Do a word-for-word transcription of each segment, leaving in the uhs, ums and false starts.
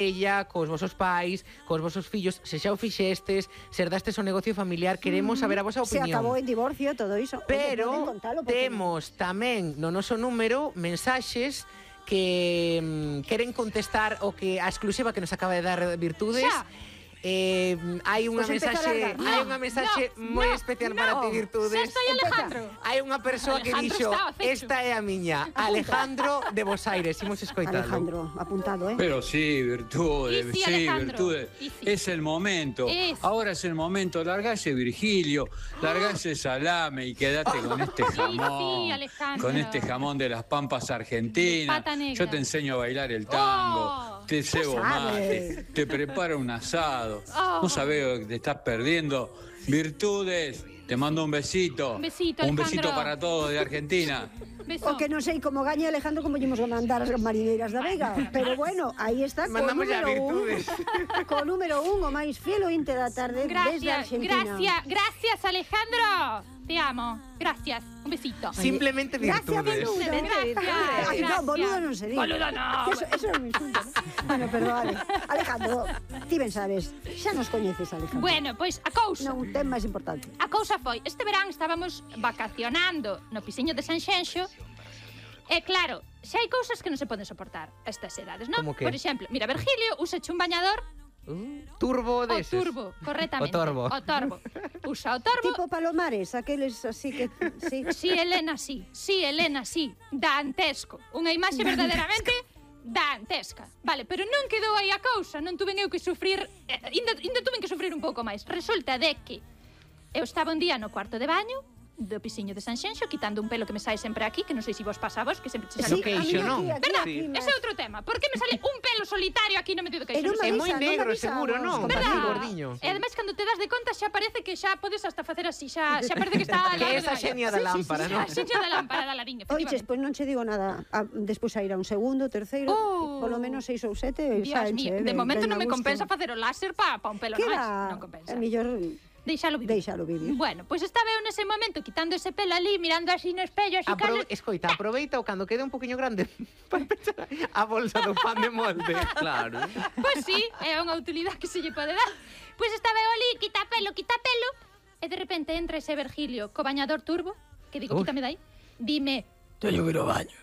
ella, cos vosos pais, cos vosos fillos, se xa o fixestes, se herdastes o negocio familiar, queremos saber a vosa opinión. Se acabou en divorcio, todo iso. Pero Oye, temos tamén no noso número mensaxes que mm, queren contestar o que a exclusiva que nos acaba de dar Virtudes. Xa. Eh, hai unha pues mensaxe, no, hai unha mensaxe no, moi no, especial no. para ti, Virtudes. Xa estoy Alejandro. Hai unha persoa que dixo, esta é a miña, Alejandro de Bos Aires, imos escoitalo. Alejandro, apuntado, ¿eh? Pero sí, Virtudes, Y sí, sí, Alejandro. Virtudes. Y sí. Es el momento. Es. Ahora es el momento. Largase Virgilio, largase Salame y quédate con este jamón. sí, Alejandro. Con este jamón de las Pampas Argentinas. Pata negra. Yo te enseño a bailar el tango, Oh, te cebo mate, te preparo un asado. Oh. No sabes lo que te estás perdiendo. Virtudes, te mando un besito. Un besito, Un Alejandro. besito para todos de Argentina. Beso. O que non sei como gaña Alejandro como llevamos a mandar as marineiras da Vega, pero bueno, aí está co Mandamos ya número un, Virtudes. co número un, o máis fiel o inte da tarde desde Gracias, Argentina. gracias, gracias, Alejandro. Te amo. Gracias. Un besito. Simplemente Gracias, Virtudes. boludo. Gracias. Ay, no, boludo non se diga. Boludo no. Eso, eso é un insulto, ¿no? Bueno, pero vale. Alejandro, ti ben sabes, xa nos coñeces, Alejandro. Bueno, pois a cousa. Non ten máis importante. A cousa foi, este verán estábamos vacacionando no piseño de Sanxenxo. E claro, xa hai cousas que non se poden soportar a estas edades, non? Como que? Por exemplo, mira, Virgilio usa un bañador. Uh, turbo O deses. turbo, correctamente. O torbo. O torbo. Usa o torbo. Tipo Palomares, aqueles así que... Sí, Sí, Elena, sí. Sí, Elena, sí. Dantesco. Unha imaxe verdadeiramente dantesca. Vale, pero non quedou aí a cousa. Non tuven eu que sufrir... Eh, ainda, ainda tuven que sufrir un pouco máis. Resulta de que eu estaba un día no cuarto de baño do piseño de Sanxenxo, quitando un pelo que me sai sempre aquí, que non sei se vos pasa a vos, que sempre se No sale... queixo, non? Verdad? Sí. Ese é outro tema. Por que me sale un pelo solitario aquí no medio do queixo? E non Non sei. É moi avisa, non negro, avisa seguro, aos non? compañeros. Así, Verdad? gordiño. E ademais, cando te das de conta, xa parece que xa podes hasta facer así, xa, xa parece que está... Que esa xenia da lámpara, non? A xenia da lámpara da ladiña, Oiches, efectivamente. pois non che digo nada. A, despois a ir a un segundo, terceiro, Oh. polo menos seis ou sete, Dios saenche, mío, de ben- momento ben non a me gusto. compensa facer o láser pa, pa un pelo Queda, máis. Non compensa. é mellor Deixalo vivir. deixalo vivir. Bueno, pois estaba eu nese momento quitando ese pelo ali, mirando así no espello, así Apro calo... escoita, aproveita o cando quede un poquinho grande para pechar a bolsa do pan de molde. Claro. Pois sí, é unha utilidade que se lle pode dar. Pois estaba eu ali, quita pelo, quita pelo, e de repente entra ese Virgilio co bañador turbo, que digo, Uf. quítame dai, dime, teño que ir ao baño.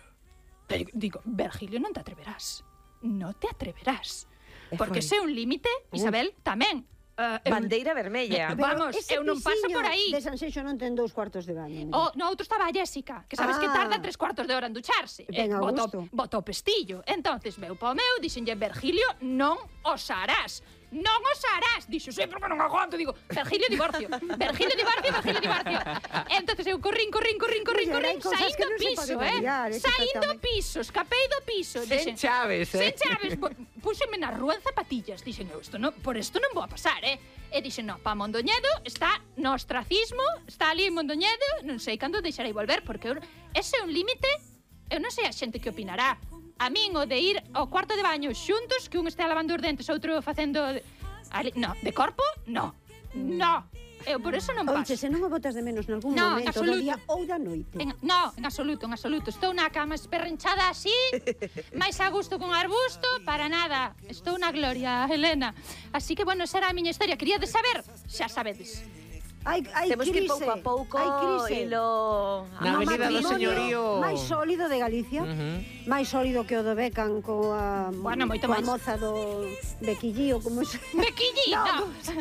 Teño... Digo, Virgilio, non te atreverás. Non te atreverás. Porque se é un límite, Isabel, tamén. Uh, eu- Bandeira vermella. Pero- Vamos, ese eu non paso pisiño por aí. de Sanxenxo non ten dous cuartos de baño. O, no outro estaba a Jessica, que sabes Ah. que tarda tres cuartos de hora en ducharse. Ben a botou, gusto. botou pestillo. Entonces veu pa o meu, dixenlle, Virgilio, non os harás. Non os harás. Dixo, sí, porque non aguanto. Digo, Virgilio, divorcio. Virgilio, divorcio, Virgilio, divorcio. Entonces eu corrín, corrín, corrín, corrín, Pois era, corrín, hai cousas que saindo non se piso, poden eh. obviar, eh, que Saindo tamén. piso, escapei do piso. Sen Dixen, chaves, eh. Sen chaves. bo- Púxenme na rúa en zapatillas. Dixen, eu, isto non, por isto non vou a pasar, eh. E dixen, no, pa Mondoñedo está no ostracismo, está ali en Mondoñedo, non sei cando deixarei volver, porque eu, ese é un límite, eu non sei a xente que opinará. A min o de ir ao cuarto de baño xuntos, que un estea lavando os dentes, outro facendo... Ali, no, de corpo, no. No. Eu por eso non paso. Oiche, se non o botas de menos nalgún No, en momento do absoluto. día ou da noite. En, no, en absoluto, en absoluto. Estou na cama esperrenchada así, máis a gusto con arbusto, para nada. Estou na gloria, Helena. Así que, bueno, esa era a miña historia. Quería de saber, xa sabedes. Hai, hai Temos que ir crise, pouco a pouco hai crise. e lo... Na No Avenida do matrimonio Señorío. máis sólido de Galicia, Ujú. máis sólido que o do Beckham coa, Bueno, moito coa máis. moza do Bequillío, como se... Bequillí, no.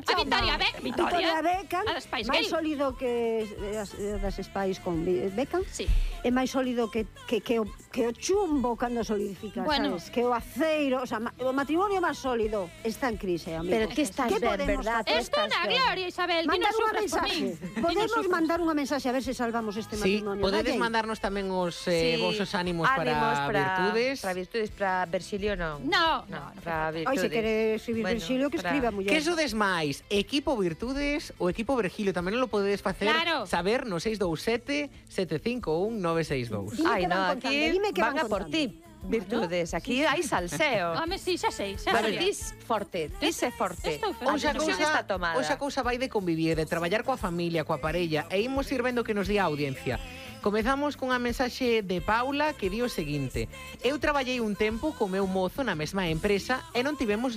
A Victoria Be Victoria. Victoria Beckham, A das Spice máis Girls. sólido que as, das Spice con Be- Beckham, Sí. é máis sólido que, que, que, o, que o chumbo cando solidifica, Bueno. sabes? Que o aceiro, o sea, ma- o matrimonio máis sólido está en crise, amigo. Pero que estás Que ben, podemos verdad? facer? Estou na gloria, Isabel. Ti Mandar non unha sufras por mensaje. min. Ti non Podemos sufras. mandar unha mensaxe a ver se salvamos este Sí, matrimonio. podedes Dalle. mandarnos tamén os eh, Sí. vosos ánimos para, Ánimos para Virtudes. Para Virtudes, para Virgilio non. No, No, no, no. para Ai, Virtudes. se quere escribir Bueno, Virgilio, que para- escriba, muller. Que sodes máis, equipo Virtudes ou equipo Virgilio? Tamén non lo podedes facer Claro. saber no seis dous sete, sete cinco un, nove seis dous. Dime Ai, que van no, contando, aquí dime que van van a por contando. ti. virtudes. Aquí hai salseo. Home, sí, xa sei, xa Pero sei. tis forte, tis é forte. Estou A Hoxe a decisión cousa, está tomada. hoxe a cousa vai de convivir, de traballar coa familia, coa parella, e imos ir vendo que nos di a audiencia. Comezamos cunha mensaxe de Paula que di o seguinte: eu traballei un tempo co meu mozo na mesma empresa e non tivemos